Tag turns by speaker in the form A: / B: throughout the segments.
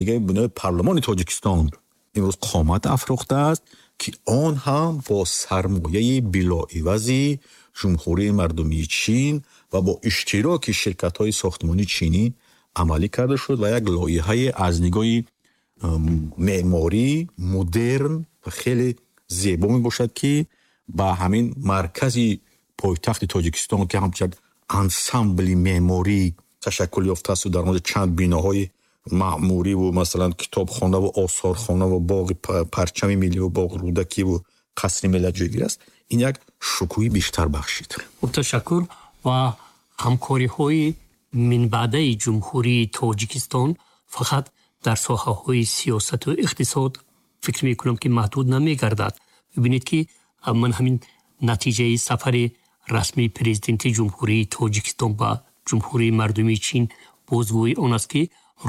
A: Дигари бинои парлумони Тоҷикистон имрӯз қомат афрохтааст, ки он ҳам бо сармояи билоивази Ҷумҳурии Мардумии Чин ва бо иштироки ширкатҳои сохтмонии чинӣ амалӣ карда шуд ва як лоиҳае аз нигоҳи меъморӣ модерн ва хеле зебо мебошад, ки ба ҳамин маркази пойтахти Тоҷикистон, ки ҳамчун як ансамбли меъморӣ ташаккул ёфтаасту дар он ҷо чанд биноҳои маъмуриву, масалан, китобхонаву осорхонаву боғи парчами милливу боғи Рӯдакиву қасри миллат ҷойгир аст, ин як шукӯҳи бештар бахшид.
B: Хуб, ташаккур. Ва ҳамкориҳои минбаъдаи Ҷумҳурии Тоҷикистон фақат дар соҳаҳои сиёсату иқтисод, фикр мекунам, ки маҳдуд намегардад. Бибинед, ки ман ҳамин натиҷаи сафари расмии Президенти Ҷумҳурии Тоҷикистон ба Ҷумҳурии Мардумии Чин бозгӯи он аст, ки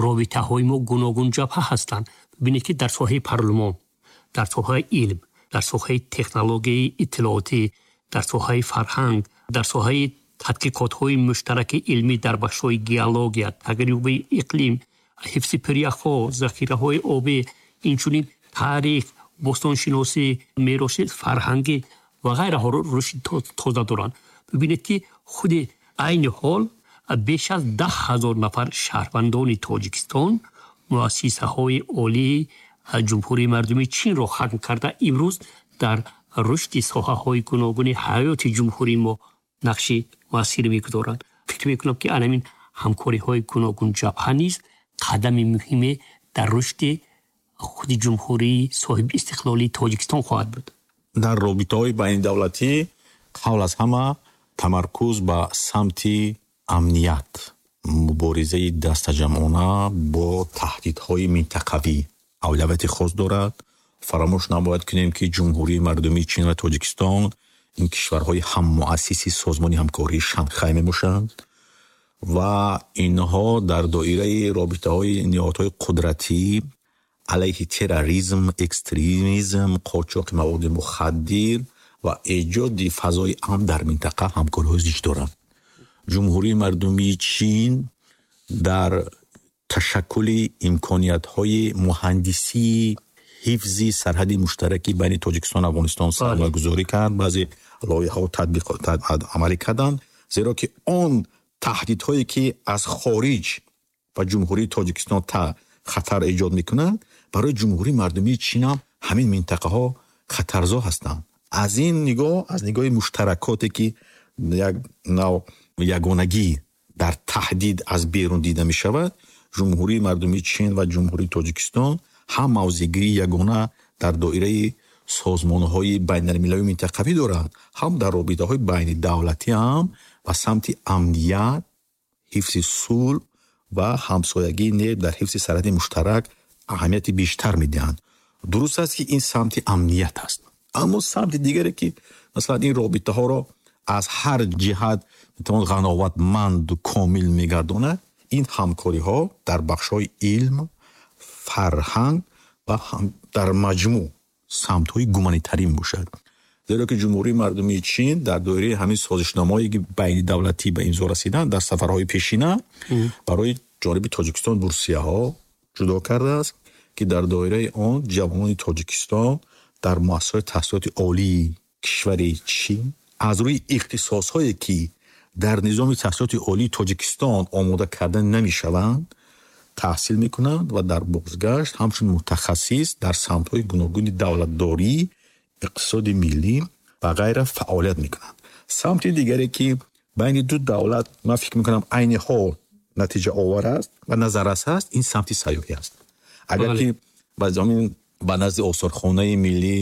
B: робитаҳои мо гуногунҷабҳа ҳастанд. Бибинед, ки дар соҳаи парлумон, дар соҳаи илм, дар соҳаи технологияи иттилоотӣ, дар соҳаи фарҳанг, дар соҳаи тадқиқотҳои муштараки илмӣ дар бахшҳои геология, тағйирёбии иқлим, ҳифзи пиряхҳо, захираҳои обӣ, инчунин таърих, бостоншиносӣ, мероси фарҳангӣ ва ғайраҳо рушди тоза доранд. Бибинед, ки худи айни ҳол беш аз 10 000 нафар шаҳрвандони Тоҷикистон муассисаҳои олии Ҷумҳурии Мардумии Чинро хатм карда, имрӯз дар рушди соҳаҳои гуногуни ҳаёти ҷумҳурии мо нақши муассир мегузоранд. Фикр мекунам, ки анамин ҳамкориҳои гуногунҷабҳа низ қадами муҳиме дар рушди худи ҷумҳурии соҳиби истиқлолии Тоҷикистон хоҳад буд.
A: Дар робитаҳои байнидавлатӣ қабл аз ҳама тамаркуз ба самти амният, муборизаи дастаҷамъона бо таҳдидҳои минтақавӣ авлавияти хос дорад. Фаромӯш набояд кунем, ки Ҷумҳурии Мардумии Чин ва Тоҷикистон ин кишварҳои ҳаммуассиси Созмони ҳамкории Шанхай мебошанд ва инҳо дар доираи робитаҳои ниҳодҳои қудратӣ алайҳи терроризм, экстремизм, қочоқи маводи мухаддир ва эҷоди фазои амн дар минтақа ҳамкориҳои зич доранд. Ҷумҳурии Мардумии Чин дар ташаккули имкониятҳои муҳандисии ҳифзи сарҳади муштараки байни Тоҷикистону Афғонистон сармоягузорӣ кард, баъзе лоиҳаҳо татбиқ амалӣ карданд, зеро ки он таҳдидҳое, ки аз хориҷ ба Ҷумҳурии Тоҷикистон хатар эҷод мекунанд, барои Ҷумҳурии Мардумии Чин ҳам ҳамин минтақаҳо хатарзо ҳастанд. Аз ин нигоҳ, аз нигоҳи муштаракоте, ки як нав ягонагӣ дар таҳдид аз берун дида мешавад, Ҷумҳурии Мардумии Чин ва Ҷумҳурии Тоҷикистон ҳам мавзеъгирии ягона дар доираи созмонҳои байналмилалию минтақавӣ доранд, ҳам дар робитаҳои байнидавлатӣ ҳам ба самти амният, ҳифзи сулҳ ва ҳамсоягии нек дар ҳифзи сарҳади муштарак аҳамияти бештар медиҳанд. Дуруст аст, ки ин самти амният аст, аммо самти дигаре, ки масалан ин робитаҳоро аз ҳар ҷиҳат метавон ғановатманду комил мегардонад, ин ҳамкориҳо дар бахшҳои илм, фарҳанг ва дар маҷмӯъ самтҳои гуманитарӣ мебошад, зеро ки Ҷумҳурии Мардумии Чин дар доираи ҳамин созишномаҳое, ки байнидавлатӣ ба имзо расиданд, дар сафарҳои пешина барои ҷониби Тоҷикистон бурсияҳо ҷудо кардааст, ки дар доираи он ҷавонони Тоҷикистон дар муассисаҳои таҳсилоти олии кишвари Чин аз рӯи ихтисосҳое, ки дар низоми таҳсилоти олии Тоҷикистон омода карда намешаванд, таҳсил мекунанд ва дар бозгашт ҳамчун мутахассис дар самтҳои гуногуни давлатдорӣ, иқтисоди миллӣ ва ғайра фаъолият мекунанд. Самти дигаре, ки байни ду давлат, ман фикр мекунам, айни ҳол натиҷаовар аст ва назаррас аст, ин самти сайёҳӣ аст. Агар ки ба назди осорхонаи миллӣ,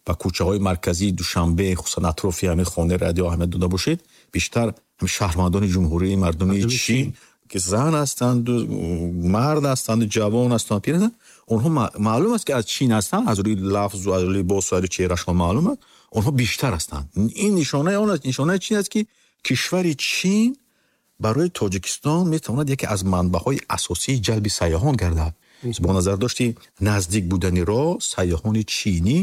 A: ба кӯчаҳои марказии Душанбе, хусусан атрофи ҳамин Хонаи радио аҳамият дода бошед, бештар шаҳрвандони Ҷумҳурии Мардумии Чин, ки зан ҳастанду мард ҳастанду, ҷавон ҳастанд, пир ҳастанд, онҳо маълум аст, ки аз Чин ҳастанд, аз рӯи лафзу аз рӯи либосу аз рӯи чеҳрашон маълум аст, онҳо бештар ҳастанд. Ин нишонаи он аст, нишонаи чин аст, ки кишвари Чин барои Тоҷикистон метавонад яке аз манбаъҳои асосии ҷалби сайёҳон гардад. Бо назардошти наздик будани роҳ, сайёҳони чинӣ,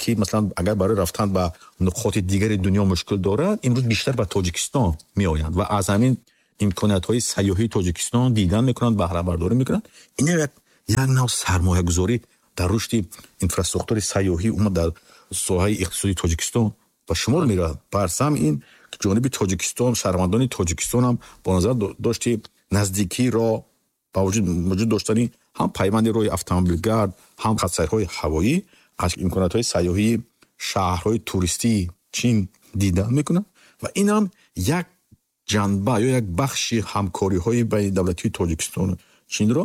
A: ки масалан агар барои рафтан ба нуқоти дигари дунё мушкил дорад, имрӯз бештар ба Тоҷикистон меоянд ва аз ҳамин имкониятҳои сайёҳии Тоҷикистон дидан мекунанд, баҳрабардорӣ мекунанд. Ин як Як нав сармоягузорӣ дар рушди инфраструктури сайёҳӣ, умуман дар соҳаи иқтисодии Тоҷикистон ба шумор меравад. Барсам ин ҷониби Тоҷикистон, шаҳрвандони Тоҷикистон ҳам бо назар дошти наздикиро ба вуҷуд доштани ҳам пайванди роҳи автомобилгард, ҳам хатсайрҳои ҳавоӣ аз имкониятҳои сайёҳии шаҳрҳои туристии Чин дида мекунад ва ин ҳам як ҷанба ё як бахши ҳамкориҳои байнидавлатии Тоҷикистону Чинро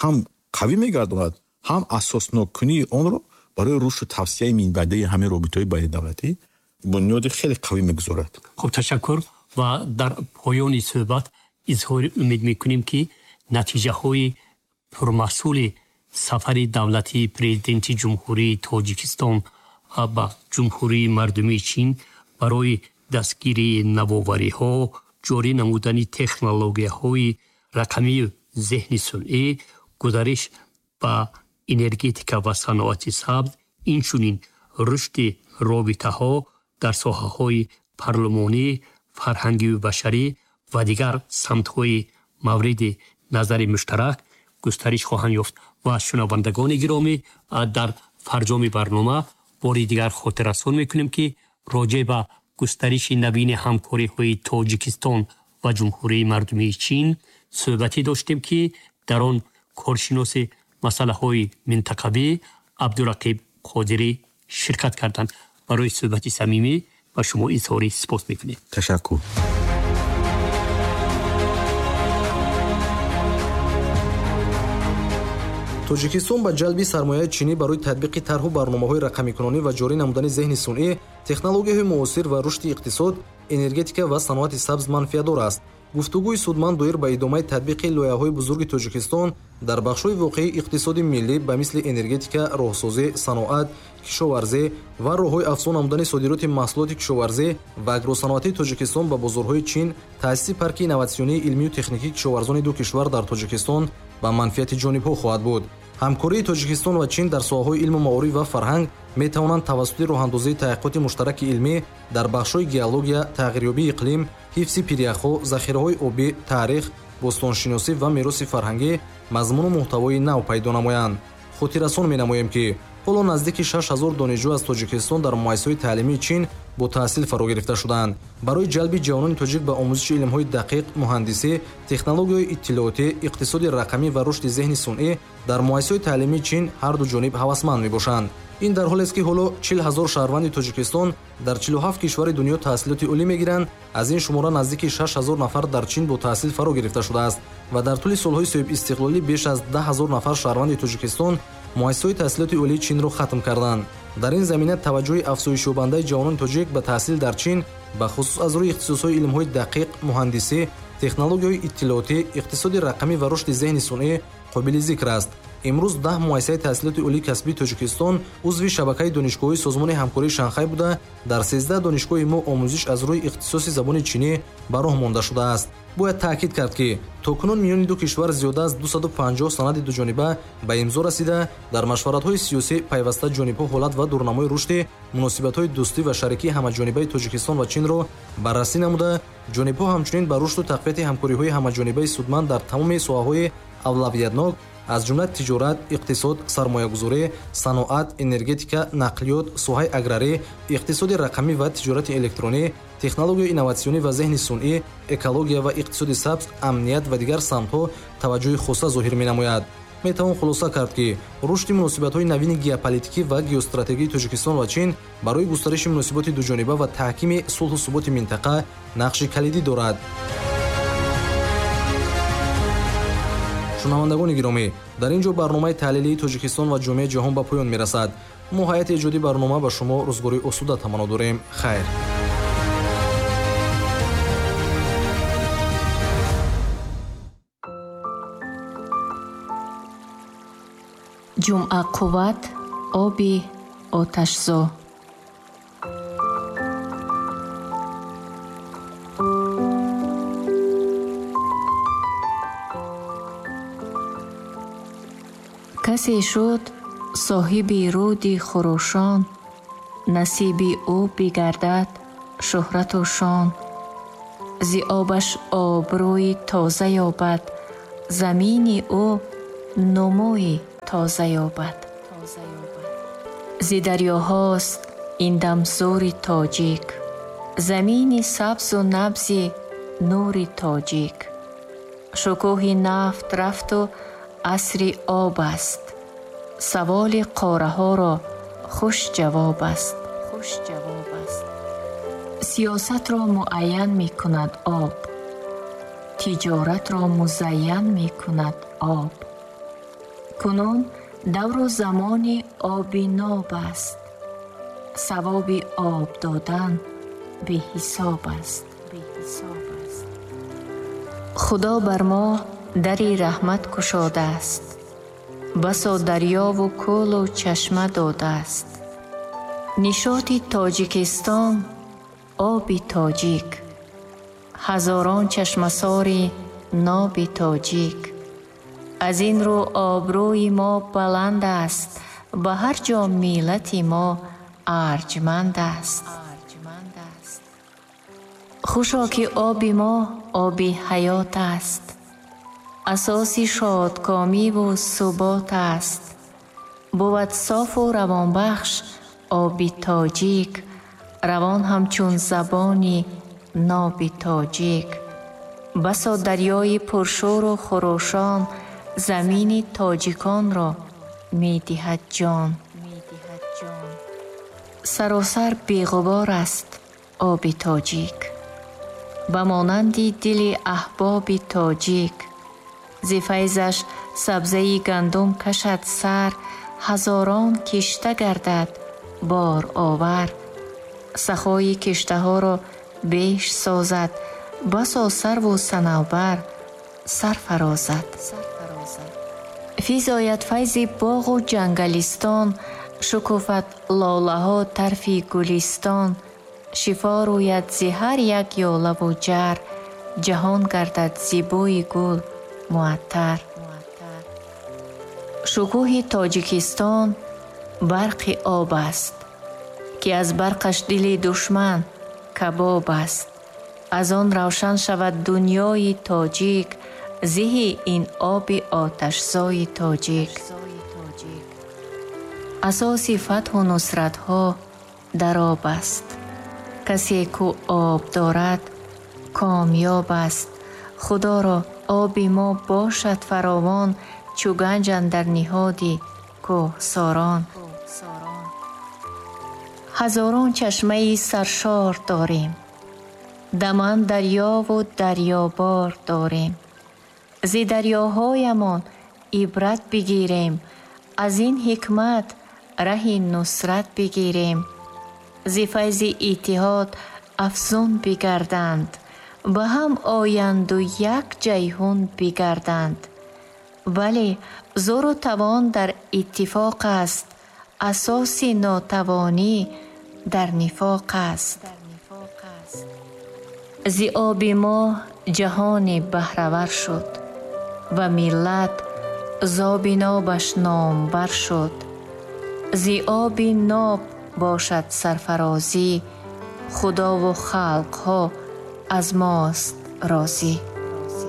A: ҳам қавӣ мегардонад, ҳам асосноккунии онро барои рушду тавсияи минбаъдаи ҳамин робитаҳои байнидавлатӣ бунёди хеле қавӣ мегузорад.
B: Хуб, ташаккур. Ва дар поёни суҳбат изҳори умед мекунем, ки натиҷаҳои пурмаҳсули сафари давлатии Президенти Ҷумҳурии Тоҷикистон ба Ҷумҳурии Мардумии Чин барои дастгирии навовариҳо, ҷорӣ намудани технологияҳои рақамию зеҳни сунъӣ, гузариш ба энергетика ва саноати сабз, инчунин рушди робитаҳо дар соҳаҳои парлумонӣ, фарҳангию башарӣ ва дигар самтҳои мавриди назари муштарак густариш хоҳанд ёфт. Ва шунавандагони гиромӣ, дар фарҷоми барнома бори дигар хотиррасон мекунем, ки роҷеъ ба густариши навини ҳамкориҳои Тоҷикистон ва Ҷумҳурии Мардумии Чин суҳбате доштем, ки дар он коршиноси масъалаҳои минтақавӣ Абдурақиб Қодирӣ ширкат карданд. Барои суҳбати самимӣ ба шумо изҳори сипос мекунем.
A: Ташаккур.
C: Тоҷикистон ба ҷалби сармояи чинӣ барои татбиқи тарҳу барномаҳои рақамикунонӣ ва ҷорӣ намудани зеҳни сунъӣ, технологияҳои муосир ва рушди иқтисод, энергетика ва саноати сабз манфиатдор аст. Гуфтугӯи судманд доир ба идомаи татбиқи лоиҳаҳои бузурги Тоҷикистон дар бахшҳои воқеии иқтисоди миллӣ ба мисли энергетика, роҳсозӣ, саноат, кишоварзӣ ва роҳҳои афзун намудани содироти маҳсулоти кишоварзӣ ва агросаноатии Тоҷикистон ба бозорҳои Чин, таъсиси парки инноватсионии илмию техникии кишоварзони ду кишвар дар Тоҷикистон ба манфиати ҷонибҳо хоҳад буд. Ҳамкории Тоҷикистон ва Чин дар соҳаҳои илму маориф ва фарҳанг метавонанд тавассути роҳандозии таҳқиқоти муштараки илмӣ дар бахшҳои геология, тағйирёбии иқлим, ҳифзи пиряхҳо, захираҳои обӣ, таърих, бостоншиносӣ ва мероси фарҳангӣ мазмуну муҳтавои нав пайдо намоянд. Хотиррасон менамоем, ки ҳоло наздики 6000 донишҷӯ аз Тоҷикистон дар муассисаҳои таълимии Чин бо таҳсил фаро гирифта шудаанд. Барои ҷалби ҷавонони тоҷик ба омӯзиши илмҳои дақиқ, муҳандисӣ, технологияҳои иттилоотӣ, иқтисоди рақамӣ ва рушди зеҳни сунъӣ дар муассисаҳои таълимии Чин ҳар ду ҷониб ҳавасманд мебошанд. Ин дар ҳолест, ки ҳоло 40 ҳазор шаҳрванди Тоҷикистон дар 47 кишвари дунё таҳсилоти олӣ мегиранд. Аз ин шумора наздики 6 ҳазор нафар дар Чин бо таҳсил фаро гирифта шудааст ва дар тӯли солҳои соҳибистиқлолӣ беш аз 10 ҳазор нафар шаҳрванди Тоҷикистон муассисаҳои таҳсилоти олии Чинро хатм карданд. Дар ин замина таваҷҷӯҳи афзоишёбандаи ҷавонони тоҷик ба таҳсил дар Чин, ба хусус аз рӯи ихтисосҳои илмҳои дақиқ, муҳандисӣ, технологияҳои иттилоотӣ, иқтисоди рақамӣ ва рушди зеҳни сунъӣ қобили зикр аст. Имрӯз 10 муассисаи таҳсилоти олии касбии Тоҷикистон узви шабакаи донишгоҳҳои Созмони ҳамкории Шанхай буда, дар 13 донишгоҳи мо омӯзиш аз рӯи ихтисоси забони чинӣ ба роҳ монда шудааст. Бояд таъкид кард, ки то кунун миёни ду кишвар зиёда аз 250 санади дуҷониба ба имзо расида, дар машваратҳои сиёсӣ пайваста ҷонибҳо ҳолат ва дурнамои рушди муносибатҳои дӯстӣ ва шарикии ҳамаҷонибаи Тоҷикистон ва Чинро баррасӣ намуда, ҷонибҳо ҳамчунин ба рушду тақвияти ҳамкориҳои ҳамаҷонибаи судманд дар тамоми соҳаҳои авлавиятнок, аз ҷумла тиҷорат, иқтисод, сармоягузорӣ, саноат, энергетика, нақлиёт, соҳаи аграрӣ, иқтисоди рақамӣ ва тиҷорати электронӣ, технологияи инноватсионӣ ва зеҳни сунъӣ, экология ва иқтисоди сабз, амният ва дигар самтҳо таваҷҷӯҳи хоса зоҳир менамояд. Метавон хулоса кард, ки рушди муносибатҳои навини геополитикӣ ва геостратегии Тоҷикистон ва Чин барои густариши муносиботи дуҷониба ва таҳкими сулҳу суботи минтақа нақши калидӣ дорад. Шунавандагони гиромӣ, дар ин ҷо барномаи таҳлилии Тоҷикистон ва ҷомеаи ҷаҳон ба поён мерасад. Мо ҳайати эҷодии барнома ба шумо рӯзгори осуда таманно дорем. Хайр.
D: Ҷумъа қувват, оби оташзо. Касе шуд соҳиби руди хурӯшон, насиби ӯ бигардад шӯҳрату шон. Зи обаш обрӯи тоза ёбад, замини ӯ нумӯи тоза ёбад. Зи дарёҳост ин дам зӯри тоҷик, замини сабзу набзи нури тоҷик. Шукӯҳи нафт рафту асри об аст, саволи қораҳоро хуш ҷавоб аст. Сиёсатро муайян мекунад об, тиҷоратро музайян мекунад об. Кунун давру замони оби ноб аст, савоби об додан беҳисоб аст. Худо бар мо дари раҳмат кушодааст, басо дарёву кӯлу чашма додааст. Нишоти Тоҷикистон оби тоҷик, ҳазорон чашмасори ноби тоҷик. Аз ин рӯ обрӯи мо баланд аст, ба ҳар ҷо миллати мо арҷманд аст. Хушо ки оби мо оби ҳаёт аст, асоси шодкомиву субот аст. Бувад софу равонбахш оби тоҷик, равон ҳамчун забони ноби тоҷик. Басо дарёи пуршӯру хурӯшон замини тоҷиконро медиҳад ҷон. Саросар беғубор аст оби тоҷик, ба монанди дили аҳбоби тоҷик. Зи файзаш сабзаи гандум кашад сар, ҳазорон кишта гардад боровар. Сахои киштаҳоро беш созад, басо сарву санавбар сар фарозад. Физояд файзи боғу ҷангалистон, шукуфад лолаҳо тарфи гулистон. Шифо рӯяд зи ҳар як ёлаву ҷар, ҷаҳон гардад зи бӯи гул муаттар. Шукӯҳи Тоҷикистон барқи об аст, ки аз барқаш дили душман кабоб аст. Аз он равшан шавад дунёи тоҷик, зиҳи ин оби оташзои тоҷик. Асоси фатҳу нусратҳо дар об аст, касе ку об дорад комёб аст. Худоро оби мо бошад фаровон, чу ганҷ андар ниҳоди кӯҳсорон. Ҳазорон чашмаи саршор дорем, даман дарёву дарёбор дорем. Зи дарёҳоямон ибрат бигирем, аз ин ҳикмат раҳи нусрат бигирем. Зи файзи иттиҳод афзун бигарданд, ба ҳам оянду як ҷайҳун бигарданд. Бале, зӯру тавон дар иттифоқ аст, асоси нотавонӣ дар нифоқ аст. Зи оби мо ҷаҳоне баҳравар шуд ва миллат зоби нобаш номбар шуд. Зи оби ноб бошад сарфарозӣ, худову халқҳо аз мост розӣ.